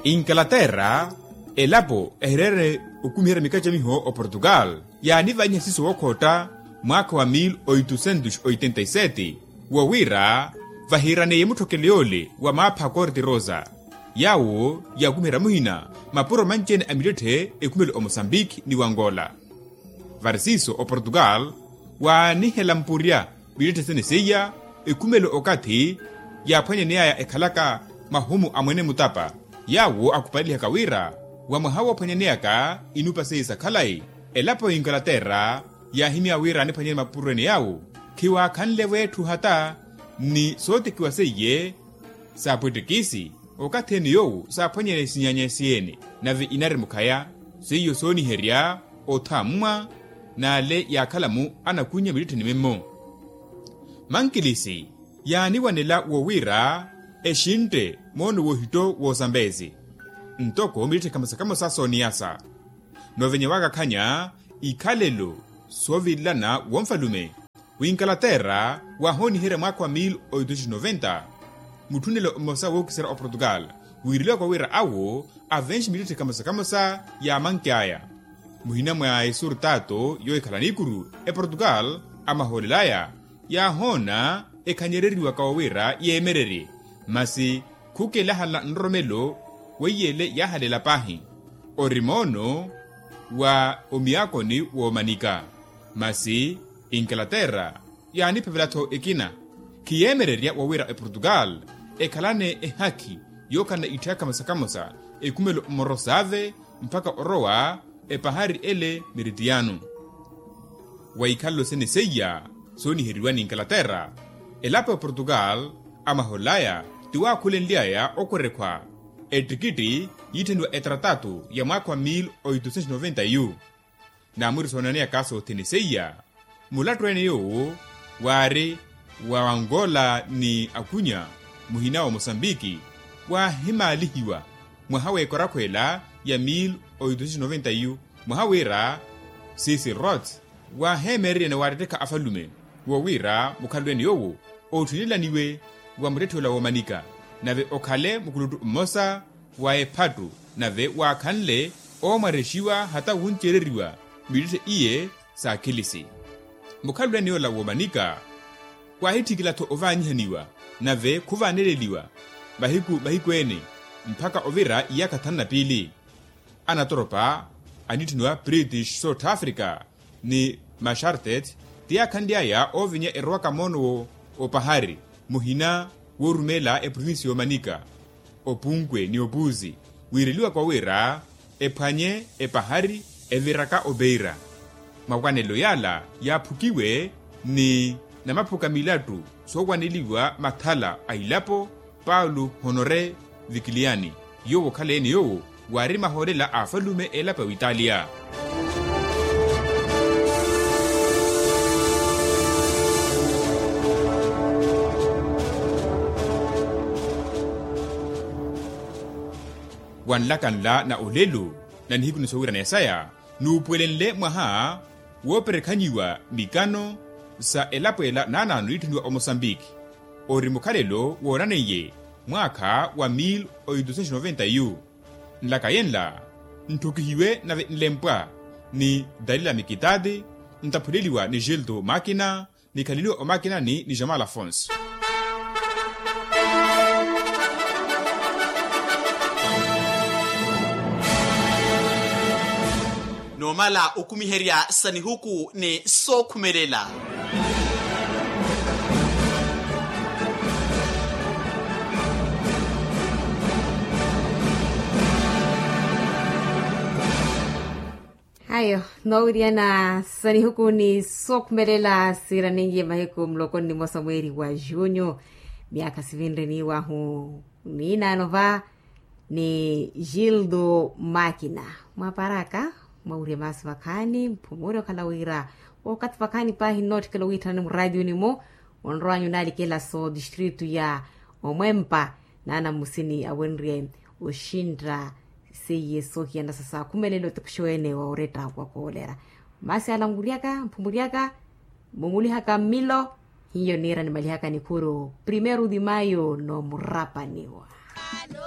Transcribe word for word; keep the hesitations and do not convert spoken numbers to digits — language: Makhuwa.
Inkalaterra, elapo ehireere okumiherya mikacamiho oportugal, yaanivanyiha siiso wookhootta mwaakha wa mil oitusentos oitenta y sete, wo wira vahiiraneiye mutthokelo yoole wa maapha a korte rosa, yaawo yaakumiherya muhina mapuro manci-ene a mittetthe ekhumele omosambiki ni wangola. Vari siiso oportugal waanihela mpurya mittetthe sene seiya, ekhumelo okathi yaaphwanyaneyaya ekhalaka mahumu a mwene mutapa, yaawo akupalihaka wira wa mwaha woophwanyaneyaka inupa seiya sa khalayi, elapo ya inkalaterra yaahimya wira aniphwanyane mapuro ene yaawo khiwaakhanle-vo etthu hata ni sootekiwa seiye. Saapwettekisi okathi ene yoowo saaphwanyane sinyanya siye-ene, nave inari mukhaya seiyo sooniherya othammwa n'ale yaakhala-mu anakunya mittettheni mimmo. Mankilisi yaaniwanela wo wira exintte moono woohitto woosambezi ntoko mittetthe kamosa kamosa sooniyasa. Noovenya waakakhanya ikhalelo soovilelana wonfalume, winkalaterra waahooniherya mwaakha wa mil oitusentos noventa, mutthunnelo mmosa wookiserya oportugal wiireliwaka wira awo avenxe mittetthe kamosa kamosa yaamanky'aya. Muhina mwa esurtato yoohikhala niikuru eportugal, amahoolel'aya yaahoona ekhanyereriwaka wo wira yeemererye, masi khukelahalana nroromelo weiye ele yaahaleela paahi. Ori moono wa omiyaakoni woomanika, masi inkalaterra yaaniphevela-tho ekina. Khiyeemererya wo wira eportugal ekhalane ehakhi yookhalana itthiya kamosa kamosa ekhumelo mmoro saave mpakha orowa epahari ele meritiyano. Wa ikhalelo sene seiya sooniheriwa n'inkalaterra, elapo ya oportugal amahol'aya ti waakhulenly'aya okwerekhwa ettikitti yiitthaniwa etratatu ya mwaakha wa mil oitusentos noventa yu. Naamuri soonaneyaka soothene seiya mulattu ene yoowo waari wa angola ni akunya muhina wa mosambiki, waahimaalihiwa mwaha w'ekorakhweela ya mil oitusentos noventa yu mwaha wira sisi rot waaheemereryane waattettekha afalume. Wo wira mukhalelo ene yoowo otthinelaniwe wa muttetthe ola woomanika, nave okhale mukuluttu mmosa wa ephattu nave waakhanle oomwarexiwa hata wuncereriwa mittetthe iye. Saakhilisi mukhalelo ene yoola woomanika waahitthikila-tho ovaanyihaniwa nave khuvaaneleliwa mahiku mahiku ene mpakha ovira iyaakha thanu na piili. Anatoropa aniitthaniwa british south africa ni mashartet ti yaakhanly'aya oovenya erowaka moono wo opahari muhina woorumeela eprovinsi y'omanika, opunkwe ni opuuzi wiireliwaka wira ephwanye epahari eviraka opeira. Makwanelo yaala yaaphukiwe ni namaphuka milattu soowaneliwa mathala a ilapo paulo honore vikiliyani yoowo okhaleene yoowo waari mahoolela a afalume elapo ya witalia. Wanlaka nla na olelo na nihiku ni sowiranaya saya nuupuwelenle mwaha wooperekhanyiwa mikano sa elapo ela naanaano iitthaniwa omosambiki ori mukhalelo woonaneiye mwaakha wa mil oitusentos noventa yu. Nlaka yenla ntthukihiwe nave nlempwa ni dalila mikitati nttaphuleliwa ni gilto makina nikhaleliwa omakinani ni jamal afonso. Noomala okumiherya sa nihuku ni sookhumelela. Ayo noowiriyana sa nihuku ni sookhumelela siiraninye mahiku muloko ni mmosa mweeri wa junyu myaakha sivinre niiwahu. Niinaano va ni gildo makina mwaparaka mwawirya maasi vakhaani mphumuure okhala wira okathi vakhaani paahi nnootthikela owiitthana ni muraatiyuni-mu onrowanyu naalikela so distritu ya omwempa naana mmusini awenrye oxintta seiye soohiyana sa saakhumelelo ti khuxeweene wa oretta wa koolera. Maasi ala nwiryaka mphumuryaka mumulihaka mmilo hiyo niira nimalihaka nikhuru primeiro de maio noomurapaniwa.